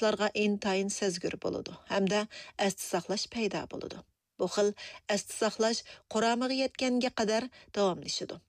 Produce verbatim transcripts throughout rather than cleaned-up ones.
ئۇلارغا ئىنتايىن سەزگۈر بولىدۇ ھەمدە ئەستە ساقلاش پەيدا بولىدۇ. بۇ خىل ئەستە ساقلاش قۇرامىغا يەتكەنگە قەدەر داۋاملىشىدۇ.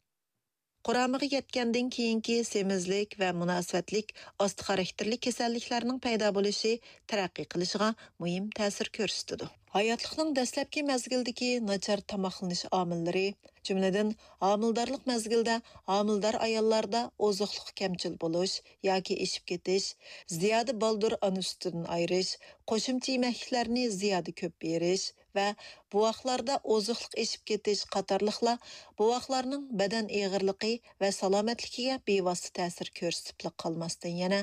قۇرامىغا يەتكەندىن كېيىنكى سېمىزلىك ۋە مۇناسىۋەتلىك ئاستا خاراكتېرلىك كېسەللىكلەرنىڭ پەيدا بولۇشى تەرەققىي قىلىشىغا مۇھىم تەسىر كۆرسىتىدۇ. ھاياتلىقنىڭ دەسلەپكى مەزگىلدىكى ناچار تاماقلىنىش ئامىللىرى، جۈملىدىن، ھامىلىدارلىق مەزگىلىدە ھامىلىدار ئاياللاردا ئوزۇقلۇق كەمچىل بولۇش ياكى ئېشىپ كېتىش، زىيادە بالدۇر ئانا سۈتىدىن ئايرىش، قوشۇمچە يېمەكلىكلەرنى زىيادە كۆپ يېيىش ۋە بوۋاقلاردا ئوزۇقلۇق ئېشىپ كېتىش قاتارلىقلار بوۋاقلارنىڭ بەدەن ئېغىرلىقى ۋە سالامەتلىكىگە بىۋاسىتە تەسىر كۆرسىتىپلا قالماستىن، يەنە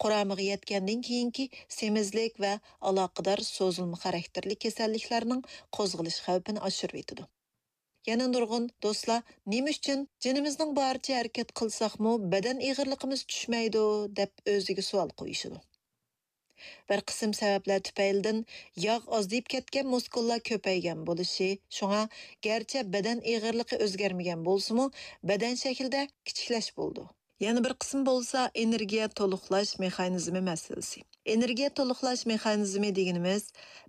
قۇرامىغا يەتكەندىن كېيىنكى سېمىزلىك ۋە ئالاقىدار سوزۇلما خاراكتېرلىك كېسەللىكلەرنىڭ قوزغىلىش خەۋپىنى ئاشۇرۇۋېتىدۇ. يەنە نۇرغۇن دوستلار، «نېمە ئۈچۈن جېنىمىزنىڭ بارىچە ھەرىكەت قىلساقمۇ، بەدەن ئېغىرلىقىمىز چۈشمەيدۇ؟» دەپ ئۆزىگە سوئال قويۇشىدۇ. بىر قىسىم سەۋەبلەر تۈپەيلىدىن ياغ ئازىيىپ كەتكەن، مۇسكۇللار كۆپەيگەن بولۇشى، شۇڭا گەرچە بەدەن ئېغىرلىقى ئۆزگەرمىگەن بولسىمۇ، بەدەن شەكلىدە كىچىكلەش بولىدۇ. يەنە بىر قىسىم بولسا ئېنېرگىيە تولۇقلاش مېخانىزمى مەسىلىسى. ئېنېرگىيە تولۇقلاش مېخانىزمى دېگىنىمىز،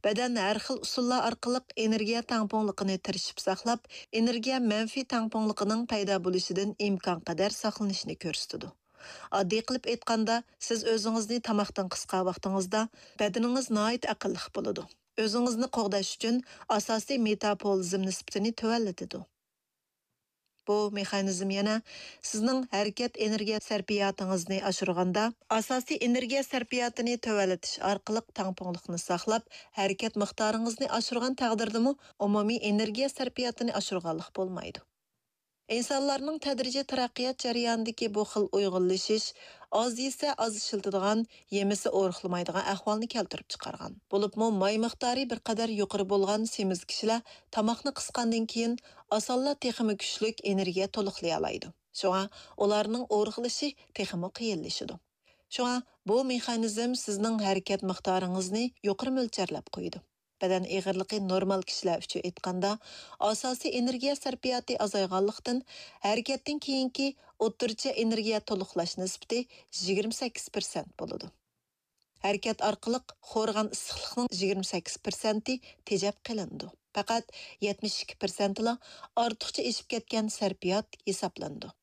بەدەن ھەر خىل ئۇسۇللار ئارقىلىق ئېنېرگىيە تەڭپۇڭلۇقىنى تىرىشىپ ساقلاپ، ئېنېرگىيە مەنپىي تەڭپۇڭلۇقىنىڭ پەيدا بولۇشىدىن ئىمكانقەدەر ساقلىنىشنى كۆرسىتىدۇ. ئاددىي قىلىپ ئېيتقاندا، سىز ئۆزىڭىزنى تاماقتىن قىسقان ۋاقتىڭىزدا بەدىنىڭىز ناھايىتى ئەقىللىق بولىدۇ. ئۆزىڭىزنى قوغداش ئۈچۈن ئاساسىي مېتابولىزم نىسبىتىنى تۆۋەنلىتىدۇ. بۇ مېخانىزم يەنە سىزنىڭ ھەرىكەت ئېنېرگىيە سەرپىياتىڭىزنى ئاشۇرغاندا، ئاساسىي ئېنېرگىيە سەرپىياتىنى تۆۋەنلىتىش ئارقىلىق تەڭپۇڭلۇقنى ساقلاپ، ھەرىكەت مىقدارىڭىزنى ئاشۇرغان تەقدىردىمۇ ئومۇمىي ئېنېرگىيە سەرپىياتىنى ئاشۇرغانلىق بولمايدۇ. ئىنسانلارنىڭ تەدرىجىي تەرەققىيات جەريانىدىكى بۇ خىل ئۇيغۇنلىشىش ئاز يېسە ئاز ئىشلىتىدىغان، يېمىسە ئورۇقلىمايدىغان ئەھۋالنى كەلتۈرۈپ چىقارغان. بولۇپمۇ ماي مىقدارى بىر قەدەر يۇقىرى بولغان سېمىز كىشىلەر تاماقنى قىسقاندىن كېيىن ئاسانلا تېخىمۇ كۈچلۈك ئېنېرگىيە تولۇقلىيالايدۇ. شۇڭا ئۇلارنىڭ ئورۇقلىشى تېخىمۇ قىيىنلىشىدۇ. شۇڭا بۇ مېخانىزم سىزنىڭ ھەرىكەت مىقدارىڭىزنى يۇقىرى مۆلچەرلەپ قويىدۇ. بەدەن ئېغىرلىقى نورمال كىشىلەر ئۈچۈن ئېيتقاندا، ئاساسىي ئېنېرگىيە سەرپىياتى ئازايغانلىقتىن، ھەرىكەتتىن كېيىنكى ئوتتۇرىچە ئېنېرگىيە تولۇقلاش نىسبىتى يىگىرمە سەككىز پىرسەنت بولىدۇ. ھەرىكەت ئارقىلىق خورىغان ئىسسىقلىقنىڭ يىگىرمە سەككىز پىرسەنتى تېجەپ قېلىنىدۇ. پەقەت يەتمىش ئىككى پىرسەنتىلا ئارتۇقچە ئېشىپ كەتكەن سەرپىيات ھېسابلىنىدۇ.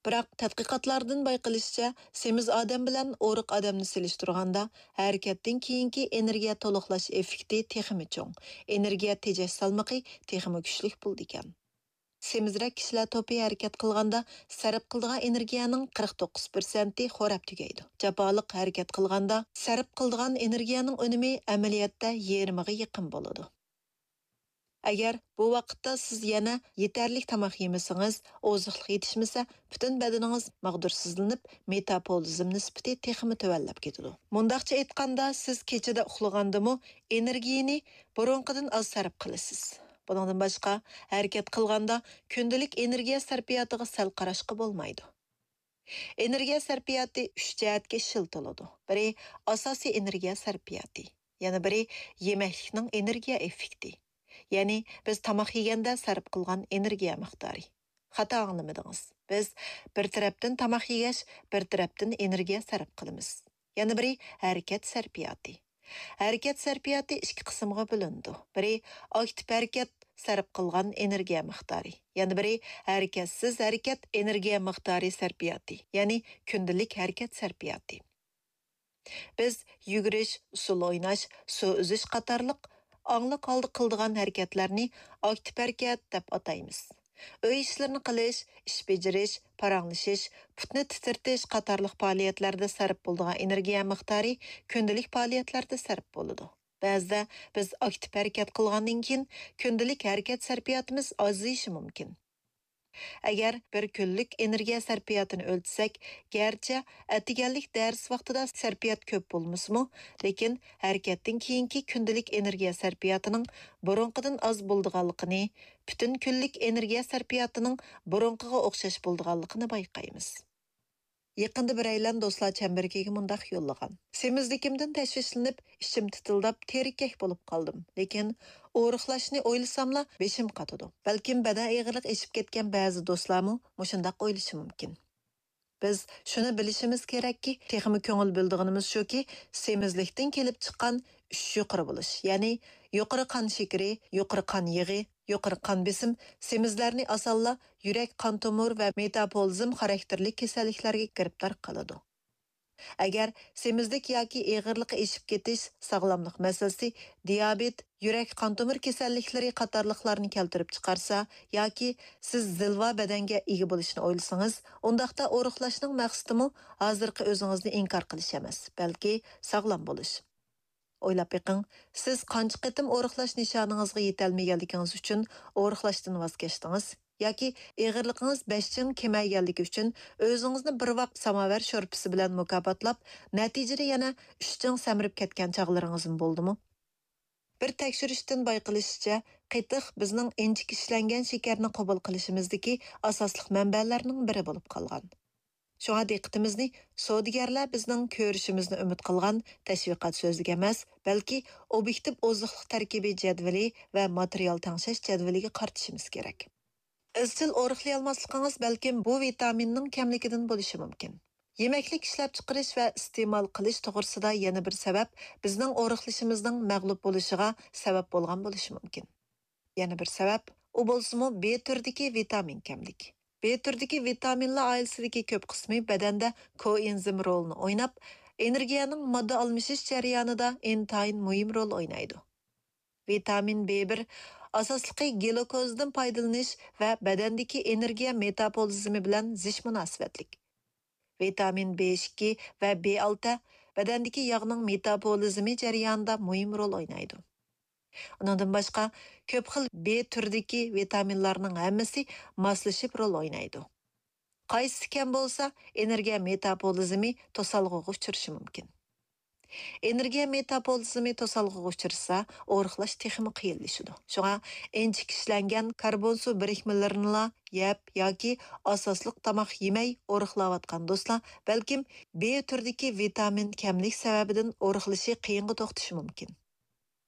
بىراق، تەتقىقاتلاردىن بايقىلىشىچە، سېمىز ئادەم بىلەن ئورۇق ئادەمنى سېلىشتۇرغاندا، ھەرىكەتتىن كېيىنكى ئېنېرگىيە تولۇقلاش ئېففېكتى تېخىمۇ چوڭ، ئېنېرگىيە تېجەش سالمىقى تېخىمۇ كۈچلۈك بولىدىكەن. سېمىزرەك كىشىلەر توپى ھەرىكەت قىلغاندا سەرپ قىلىدىغان ئېنېرگىيەنىڭ قىرىق توققۇز پىرسەنتى خوراپ تۈگەيدۇ. جاپالىق ھەرىكەت قىلغاندا سەرپ قىلىدىغان ئېنېرگىيەنىڭ ئۈنۈمى ئەمەلىيەتتە يېرىمىغا يېقىن بولىدۇ. ئەگەر بۇ ۋاقىتتا سىز يەنە يېتەرلىك تاماق يېمىسىڭىز، ئوزۇقلۇق يېتىشمىسە، پۈتۈن بەدىنىڭىز ماغدۇرسىزلىنىپ، مېتابولىزم نىسبىتى تېخىمۇ تۆۋەنلەپ كېتىدۇ. مۇنداقچە ئېيتقاندا، سىز كېچىدە ئۇخلىغاندىمۇ ئېنېرگىيىنى بۇرۇنقىدىن ئاز سەرپ قىلىسىز. بۇنىڭدىن باشقا، ھەرىكەت قىلغاندا كۈندىلىك ئېنېرگىيە سەرپىياتىغا سەل قاراشقا بولمايدۇ. ئېنېرگىيە سەرپىياتى ئۈچ جەھەتكە ئىشلىتىلىدۇ. بىرى، ئاساسىي ئېنېرگىيە سەرپىياتى، يەنە بىرى، يېمەكلىكنىڭ ئېنېرگىيە ئېففېكتى، يەنى بىز تاماق يېگەندە سەرپ قىلغان ئېنېرگىيە مىقدارى. خاتا ئاڭلىمىدىڭىز. بىز بىر تەرەپتىن تاماق يېگەچ، بىر تەرەپتىن ئېنېرگىيە سەرپ قىلىمىز. يەنە بىرى، ھەرىكەت سەرپىياتى. ھەرىكەت سەرپىياتى ئىككى قىسىمغا بۆلۈنىدۇ. بىرى، ئاكتىپ ھەرىكەت سەرپ قىلغان ئېنېرگىيە مىقدارى، يەنە بىرى، ھەرىكەتسىز ھەرىكەت ئېنېرگىيە مىقدارى سەرپىياتى، يەنى كۈندىلىك ھەرىكەت سەرپىياتى. بىز يۈگۈرۈش، ئۇسسۇل ئويناش، سۇ ئۈزۈش قاتارلىق ئاڭلىق ھالدا قىلىدىغان ھەرىكەتلەرنى ئاكتىپ ھەرىكەت دەپ ئاتايمىز. ئۆي ئىشلىرىنى قىلىش، ئىش بېجىرىش، پاراڭلىشىش، پۇتنى تىترىتىش قاتارلىق پائالىيەتلەردە سەرپ بولىدىغان ئېنېرگىيە مىقدارى كۈندىلىك پائالىيەتلەردە سەرپ بولىدۇ. بەزىدە بىز ئاكتىپ ھەرىكەت قىلغاندىن كېيىن كۈندىلىك ھەرىكەت سەرپىياتىمىز ئازىيىشى مۇمكىن. ئەگەر بىر كۈنلۈك ئېنېرگىيە سەرپىياتىنى ئۆلچىسەك، گەرچە ئەتىگەنلىك دەرس ۋاقتىدا سەرپىيات كۆپ بولمىسىمۇ، لېكىن ھەرىكەتتىن كېيىنكى كۈندىلىك ئېنېرگىيە سەرپىياتىنىڭ بۇرۇنقىدىن ئاز بولىدىغانلىقىنى، پۈتۈن كۈنلۈك ئېنېرگىيە سەرپىياتىنىڭ بۇرۇنقىغا ئوخشاش بولىدىغانلىقىنى بايقايمىز. يېقىندا بىرەيلەن دوستلار چەمبىرىكىگە مۇنداق يوللىغان: سېمىزلىكىمدىن تەشۋىشلىنىپ، ئىچىم تىتىلداپ، تېرىككەك بولۇپ قالدىم. لېكىن ئورۇقلاشنى ئويلىساملا، بېشىم قاتىدۇ. بەلكىم بەدەن ئېغىرلىقى ئېشىپ كەتكەن بەزى دوستلارمۇ مۇشۇنداق ئويلىشى مۇمكىن. بىز شۇنى بىلىشىمىز كېرەككى، تېخىمۇ كۆڭۈل بۆلىدىغىنىمىز شۇكى، سېمىزلىكتىن كېلىپ چىققان ئۈچ يۇقىرى بولۇش، يەنى يۇقىرى قان شېكىرى، يۇقىرى قان يېغى، يۇقىرى قان بېسىم سېمىزلەرنى ئاسانلا يۈرەك، قان تومۇر ۋە مېتابولىزم خاراكتېرلىك كېسەللىكلەرگە گىرىپتار قىلىدۇ. ئەگەر سېمىزلىك ياكى ئېغىرلىقى ئېشىپ كېتىش، ساغلاملىق مەسىلىسى، دىيابېت، يۈرەك، قان تومۇر كېسەللىكلىرى قاتارلىقلارنى كەلتۈرۈپ چىقارسا ياكى سىز زىلۋا بەدەنگە ئىگە بولۇشنى ئويلىسىڭىز، ئۇنداقتا ئورۇقلاشنىڭ مەقسىتىمۇ ھازىرقى ئۆزىڭىزنى ئىنكار قىلىش ئەمەس، بەلكى ساغلام بولۇش. ئويلاپ بېقىڭ، سىز قانچە قېتىم ئورۇقلاش نىشانىڭىزغا يېتەلمىگەنلىكىڭىز ئۈچۈن ئورۇقلاشتىن ۋاز كەچتىڭىز؟ ياكى ئېغىرلىقىڭىز بەش چىڭ كېمەيگەنلىكى ئۈچۈن ئۆزىڭىزنى بىر ۋاق ساماۋەر شورپىسى بىلەن مۇكاپاتلاپ، نەتىجىدە يەنە ئۈچ چىڭ سەمرىپ كەتكەن چاغلىرىڭىزمۇ بولدىمۇ؟ بىر تەكشۈرۈشتىن بايقىلىشىچە، قېتىق بىزنىڭ ئىنچىكە ئىشلەنگەن شېكەرنى قوبۇل قىلىشىمىزدىكى ئاساسلىق مەنبەلەرنىڭ بىرى بولۇپ قالغان. شۇڭا دىققىتىمىزنى سودىگەرلەر بىزنىڭ كۆرۈشىمىزنى ئۈمىد قىلغان تەشۋىقات سۆزلىرىگە ئەمەس، بەلكى ئوبيېكتىپ ئوزۇقلۇق تەركىبى جەدۋىلى ۋە ماتېرىيال تەڭشەش جەدۋىلىگە قارىتىشىمىز كېرەك. ئىزچىل ئورۇقلىيالماسلىقىڭىز بەلكىم بۇ ۋىتامىننىڭ كەملىكىدىن بولۇشى مۇمكىن. يېمەكلىك ئىشلەپچىقىرىش ۋە ئىستېمال قىلىش توغرىسىدا يەنە بىر سەۋەب، بىزنىڭ ئورۇقلىشىمىزنىڭ مەغلۇپ بولۇشىغا سەۋەب بولغان بولۇشى مۇمكىن. يەنە بىر سەۋەب، ئۇ بولسىمۇ بې تۈردىكى ۋىتامىن كەملىك. بې تۈردىكى ۋىتامىنلار ئائىلىسىدىكى كۆپ قىسمى بەدەندە كوئېنزىم رولىنى ئويناپ، ئېنېرگىيەنىڭ ماددا ئالمىشىش جەريانىدا ئىنتايىن مۇھىم رول ئوينايدۇ. ۋىتامىن بې بىر ئاساسلىقى گلۇكوزدىن پايدىلىنىش ۋە بەدەندىكى ئېنېرگىيە مېتابولىزمى بىلەن زىچ مۇناسىۋەتلىك. ۋىتامىن بې ئىككى ۋە بې ئالتە بەدەندىكى ياغنىڭ مېتابولىزمى جەريانىدا مۇھىم رول ئوينايدۇ. ئۇنىڭدىن باشقا، كۆپ خىل بې تۈرىدىكى ۋىتامىنلارنىڭ ھەممىسى ماسلىشىپ رول ئوينايدۇ. قايسىسى كەم بولسا، ئېنېرگىيە مېتابولىزمى توسالغۇغا ئۇچرىشى مۇمكىن. ئېنېرگىيە مېتابولىزمى توسالغۇغا ئۇچرىسا، ئورۇقلاش تېخىمۇ قىيىنلىشىدۇ. شۇڭا ئىنچىكە ئىشلەنگەن كاربون سۇ بىرىكمىلىرىنىلا يەپ ياكى ئاساسلىق تاماق يېمەي ئورۇقلاۋاتقان دوستلار بەلكىم بې تۈرىدىكى ۋىتامىن كەملىك سەۋەبىدىن ئورۇقلىشى قىيىنغا توختىشى مۇمكىن.